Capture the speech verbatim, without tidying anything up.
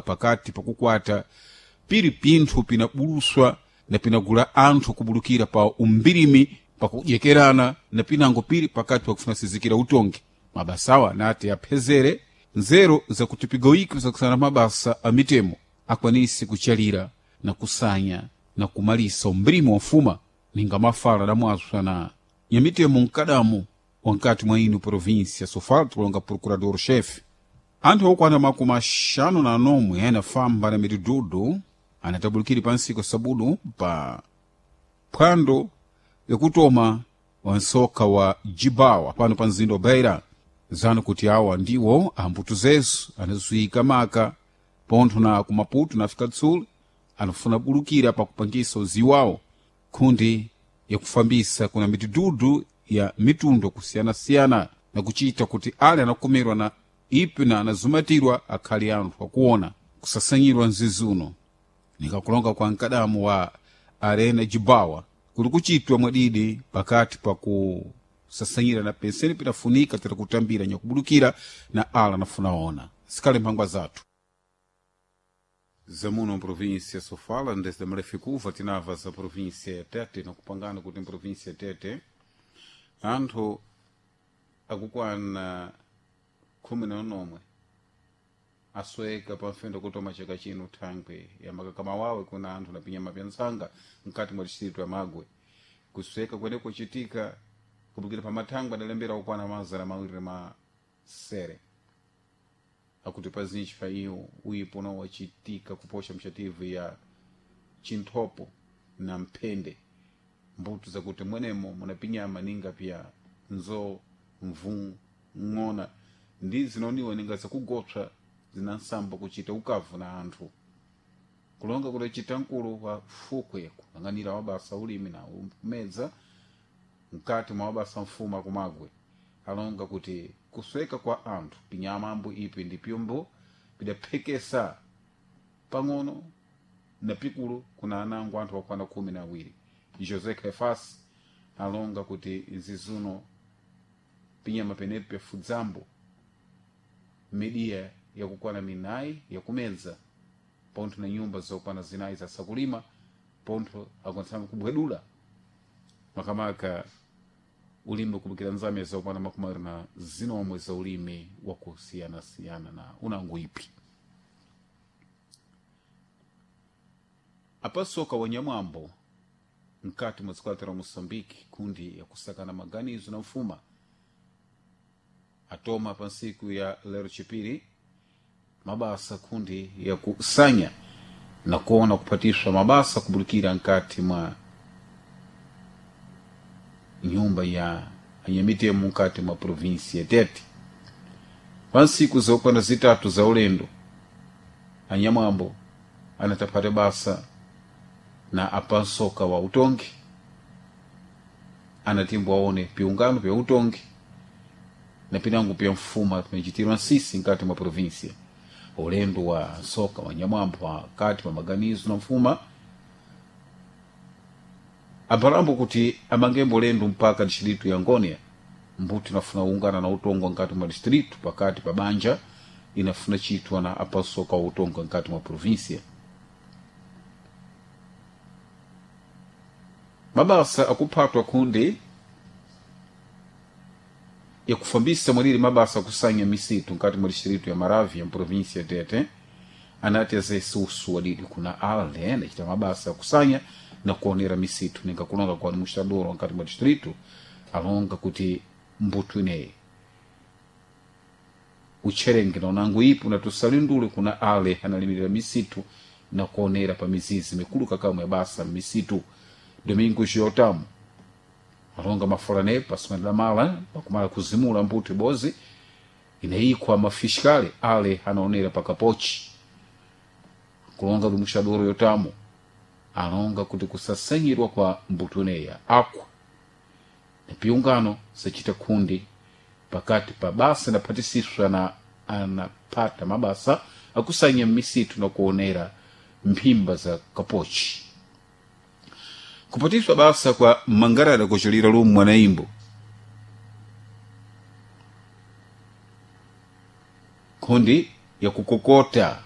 Pakati pakukwata piri pinthu pinabuluswa na pinagula anthu kubulukira pa umbirimi pakudyekerana na pinango piri pakati pakufuna sizikira utongi. Mabasawa anati aphezere nzeru zakuti pigoyiko zakusana mabasa a mitemo akwanise kuchalira na kusanya na kumalisa umbirimi wa mfuma ninga mafala adamwaswa na nyamitemo mkadamu wankati mwa ino província Sofala, tikulonga procurador-chefe. Anthu okwana makumi axanu na anomwe anafamba na mitidudu anatabulukire pa ntsiku sabudu pa phwando yakutoma wa nsoka wa Jibawa pano pa mzinda wa Beira, zanu kuti awa ndiwo ambuto zezu anaziwika maka pontho na ku Maputo na África do Sul anafuna bulukira pakupangisa uziwi wawo khundi yakufambisa kuna mitidudu ya mitundu kusiyanasiyana na kuchita kuti ale anakumirwa na ipi na anazumatirwa akhali anthu akuona kusasanyirwa mzizuno. Nikakulonga kwa mkadamu wa Arena Jibawa kuli kuchitwa mwadidi pakati pa kusasanyira na penseni pinafunika tera kutambira nyakubulukira na ala nafunaona sikhale mphangwa zathu zamuno mprovíncia Sofala. Ndesde mreficuva tinava za província ya Tete nakupangana kuti mprovíncia ya Tete anthu akukwana khumi na nomwe asweka pamfendo kutoma chaka chino thangwe ya makakama wawe kuna anthu napinyama pya ntsanga mkati mwa distrito ya Magwe. Kusweka kwene kuchitika kubukira pa mathangwe adalembera kukwana mazana mawiri masere akuti pazinji pa iyo uyipo wachitika kuposha mchativu ya chinthopo na mphende mbuto zakuti mwenemo munapinyama ninga pya nzo mvu ng'ona ndi zinoniwa ninga zakugopsa zinansamba kuchita ukavu na anthu. Kulonga kudacita mkulu wa fukwe kuyang'anira wabasa ulimi na kumedza mkati mwa wabasa mfuma kumagwe alonga kuti kusweka kwa anthu pinyama ambo ipi ndi pyombo pidaphekesa pang'ono na pikulu kuna anango anthu akwana khumi na awiri. José Clefas alonga kuti zizuno pinyama penepo pyafudzambo midiya yakukwana minayi yakumedza pontho na nyumba zokwana zinayi zasakulima pontho akwanitsana kubwedula makamaka ulimi kubukira nzame zokwana makumi awiri na zinomwe za ulimi wakusiyanasiyana na unango ipi. Apasoka wanyamwambo mkati mwa dziko la Moçambique kundi yakusakana maganizo na mfuma atoma pa ntsiku ya lero chipiri mabasa kundi yakusanya na kuona kupatishwa mabasa kubulukira nkati mwa nyumba ya anyamitemo mkati mwa província ya Tete. Pa ntsiku zokwana zitatu za ulendo anyamwambo anatapata basa na apansoka wa utongi anatimbo aone piungano pya utongi na pinango pya mfuma pinachitirwa nsisi nkati mwa província. Ulendo wa nsoka wa nyamwambo pakati pa maganizo na mfuma abalambo kuti amangembo ulendo mpaka distrito ya Ngônia mbuti inafuna ungana na utongo nkati mwa distrito pakati pa banja inafuna chitwa na apansoka wa utongo nkati mwa província. Mabasa akuphatwa kundi yakufambisa mwaniri mabasa akusanya misitu nkati mwa distrito ya Maravia ya província ya Tete anati azesusu wadidi kuna ale anachita mabasa akusanya na kuonera misitu ninga kulonga kwa administrador nkati mwa distrito alonga kuti mbuto ineyi utcherenge na unango ipo na tusalindule kuna ale analimirira misitu na kuonera pa mizizi mikulu kakamwe basa misitu. Domingo Giotamu alonga mafulane pasima mala pakumala kuzimula mbuto ibozi inayikwa mafiskale ale anaonera pakapochi. Kulonga lumuxadoro yotamu alonga kuti kusasanyirwa kwa mbuto ineya akwa na piungano sachita kundi pakati pa basa naphatisiswa na anapata mabasa akusanya misitu na kuonera mphimba za kapochi. Kupatiswa basa kwa mangarada kuchilira lumu mwanaimbo kundi ya kukokota